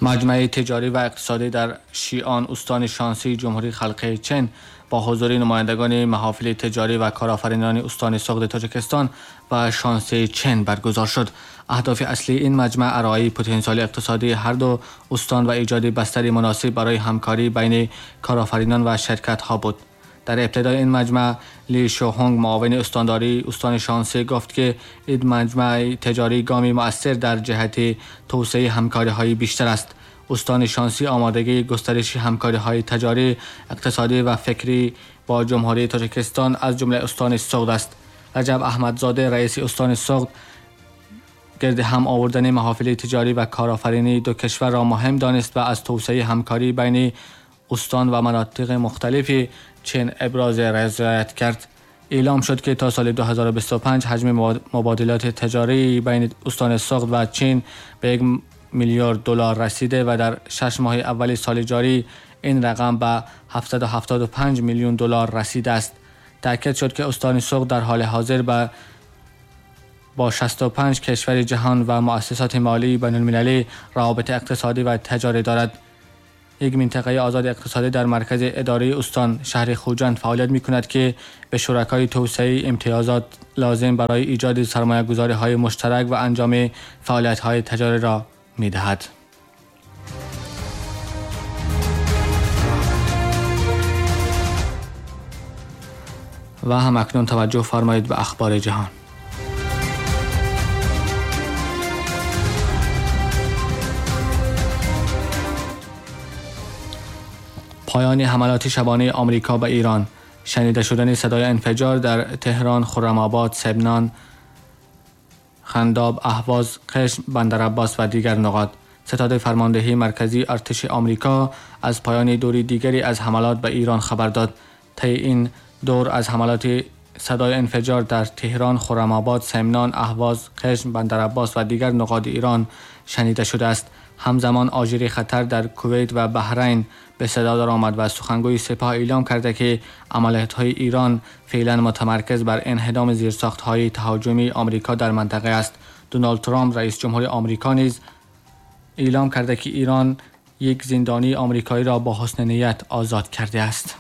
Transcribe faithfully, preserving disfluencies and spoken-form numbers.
مجمع تجاری و اقتصادی در شیان استان شانسی جمهوری خلق چین با حضور نمایندگان محافل تجاری و کارآفرینان استان سغد تاجیکستان و شانسی چین برگزار شد. اهداف اصلی این مجمع ارائه پتانسیل اقتصادی هر دو استان و ایجاد بستری مناسب برای همکاری بین کارآفرینان و شرکت‌ها بود. در ابتدای این مجمع لی شوهونگ معاون استانداری استان شانسی گفت که این مجمع تجاری گامی مؤثر در جهت توسعه همکاری‌های بیشتر است. استان شانسی آمادگی گسترش همکاری‌های تجاری، اقتصادی و فکری با جمهوری تاجیکستان از جمله استان سغد است. رجب احمدزاده رئیس استان سغد گرد هم آوردن محافل تجاری و کارآفرینی دو کشور را مهم دانست و از توسعه همکاری بین استان و مناطق مختلف چین ابراز رضایت کرد. اعلام شد که تا سال دو هزار و بیست و پنج حجم مبادلات تجاری بین استان سغد و چین به یک میلیارد دلار رسیده و در شش ماه اول سال جاری این رقم به هفتصد و هفتاد و پنج میلیون دلار رسیده است. تأکید شد که استان سغد در حال حاضر به با شصت و پنج کشور جهان و مؤسسات مالی بین المللی روابط اقتصادی و تجاری دارد. یک منطقه آزاد اقتصادی در مرکز اداره استان شهر خوجند فعالیت می کند که به شرکای توسعه امتیازات لازم برای ایجاد سرمایه گذاری های مشترک و انجام فعالیت های تجاری را می دهد. و هم اکنون توجه فرمایید به اخبار جهان. پایان حملات شبانه آمریکا به ایران، شنیده شدن صدای انفجار در تهران، خرم‌آباد، سمنان، خنداب، اهواز، قشم، بندرعباس و دیگر نقاط. ستاد فرماندهی مرکزی ارتش آمریکا از پایان دوری دیگری از حملات به ایران خبر داد. طی این دور از حملات صدای انفجار در تهران، خرم‌آباد، سمنان، اهواز، قشم، بندرعباس و دیگر نقاط ایران شنیده شده است. همزمان آژیر خطر در کویت و بحرین به صدا درآمد و سخنگوی سپاه اعلام کرده که عملیات‌های ایران فعلا متمرکز بر انهدام زیرساخت‌های تهاجمی آمریکا در منطقه است. دونالد ترامپ رئیس جمهور آمریکا نیز اعلام کرده که ایران یک زندانی آمریکایی را با حسن نیت آزاد کرده است.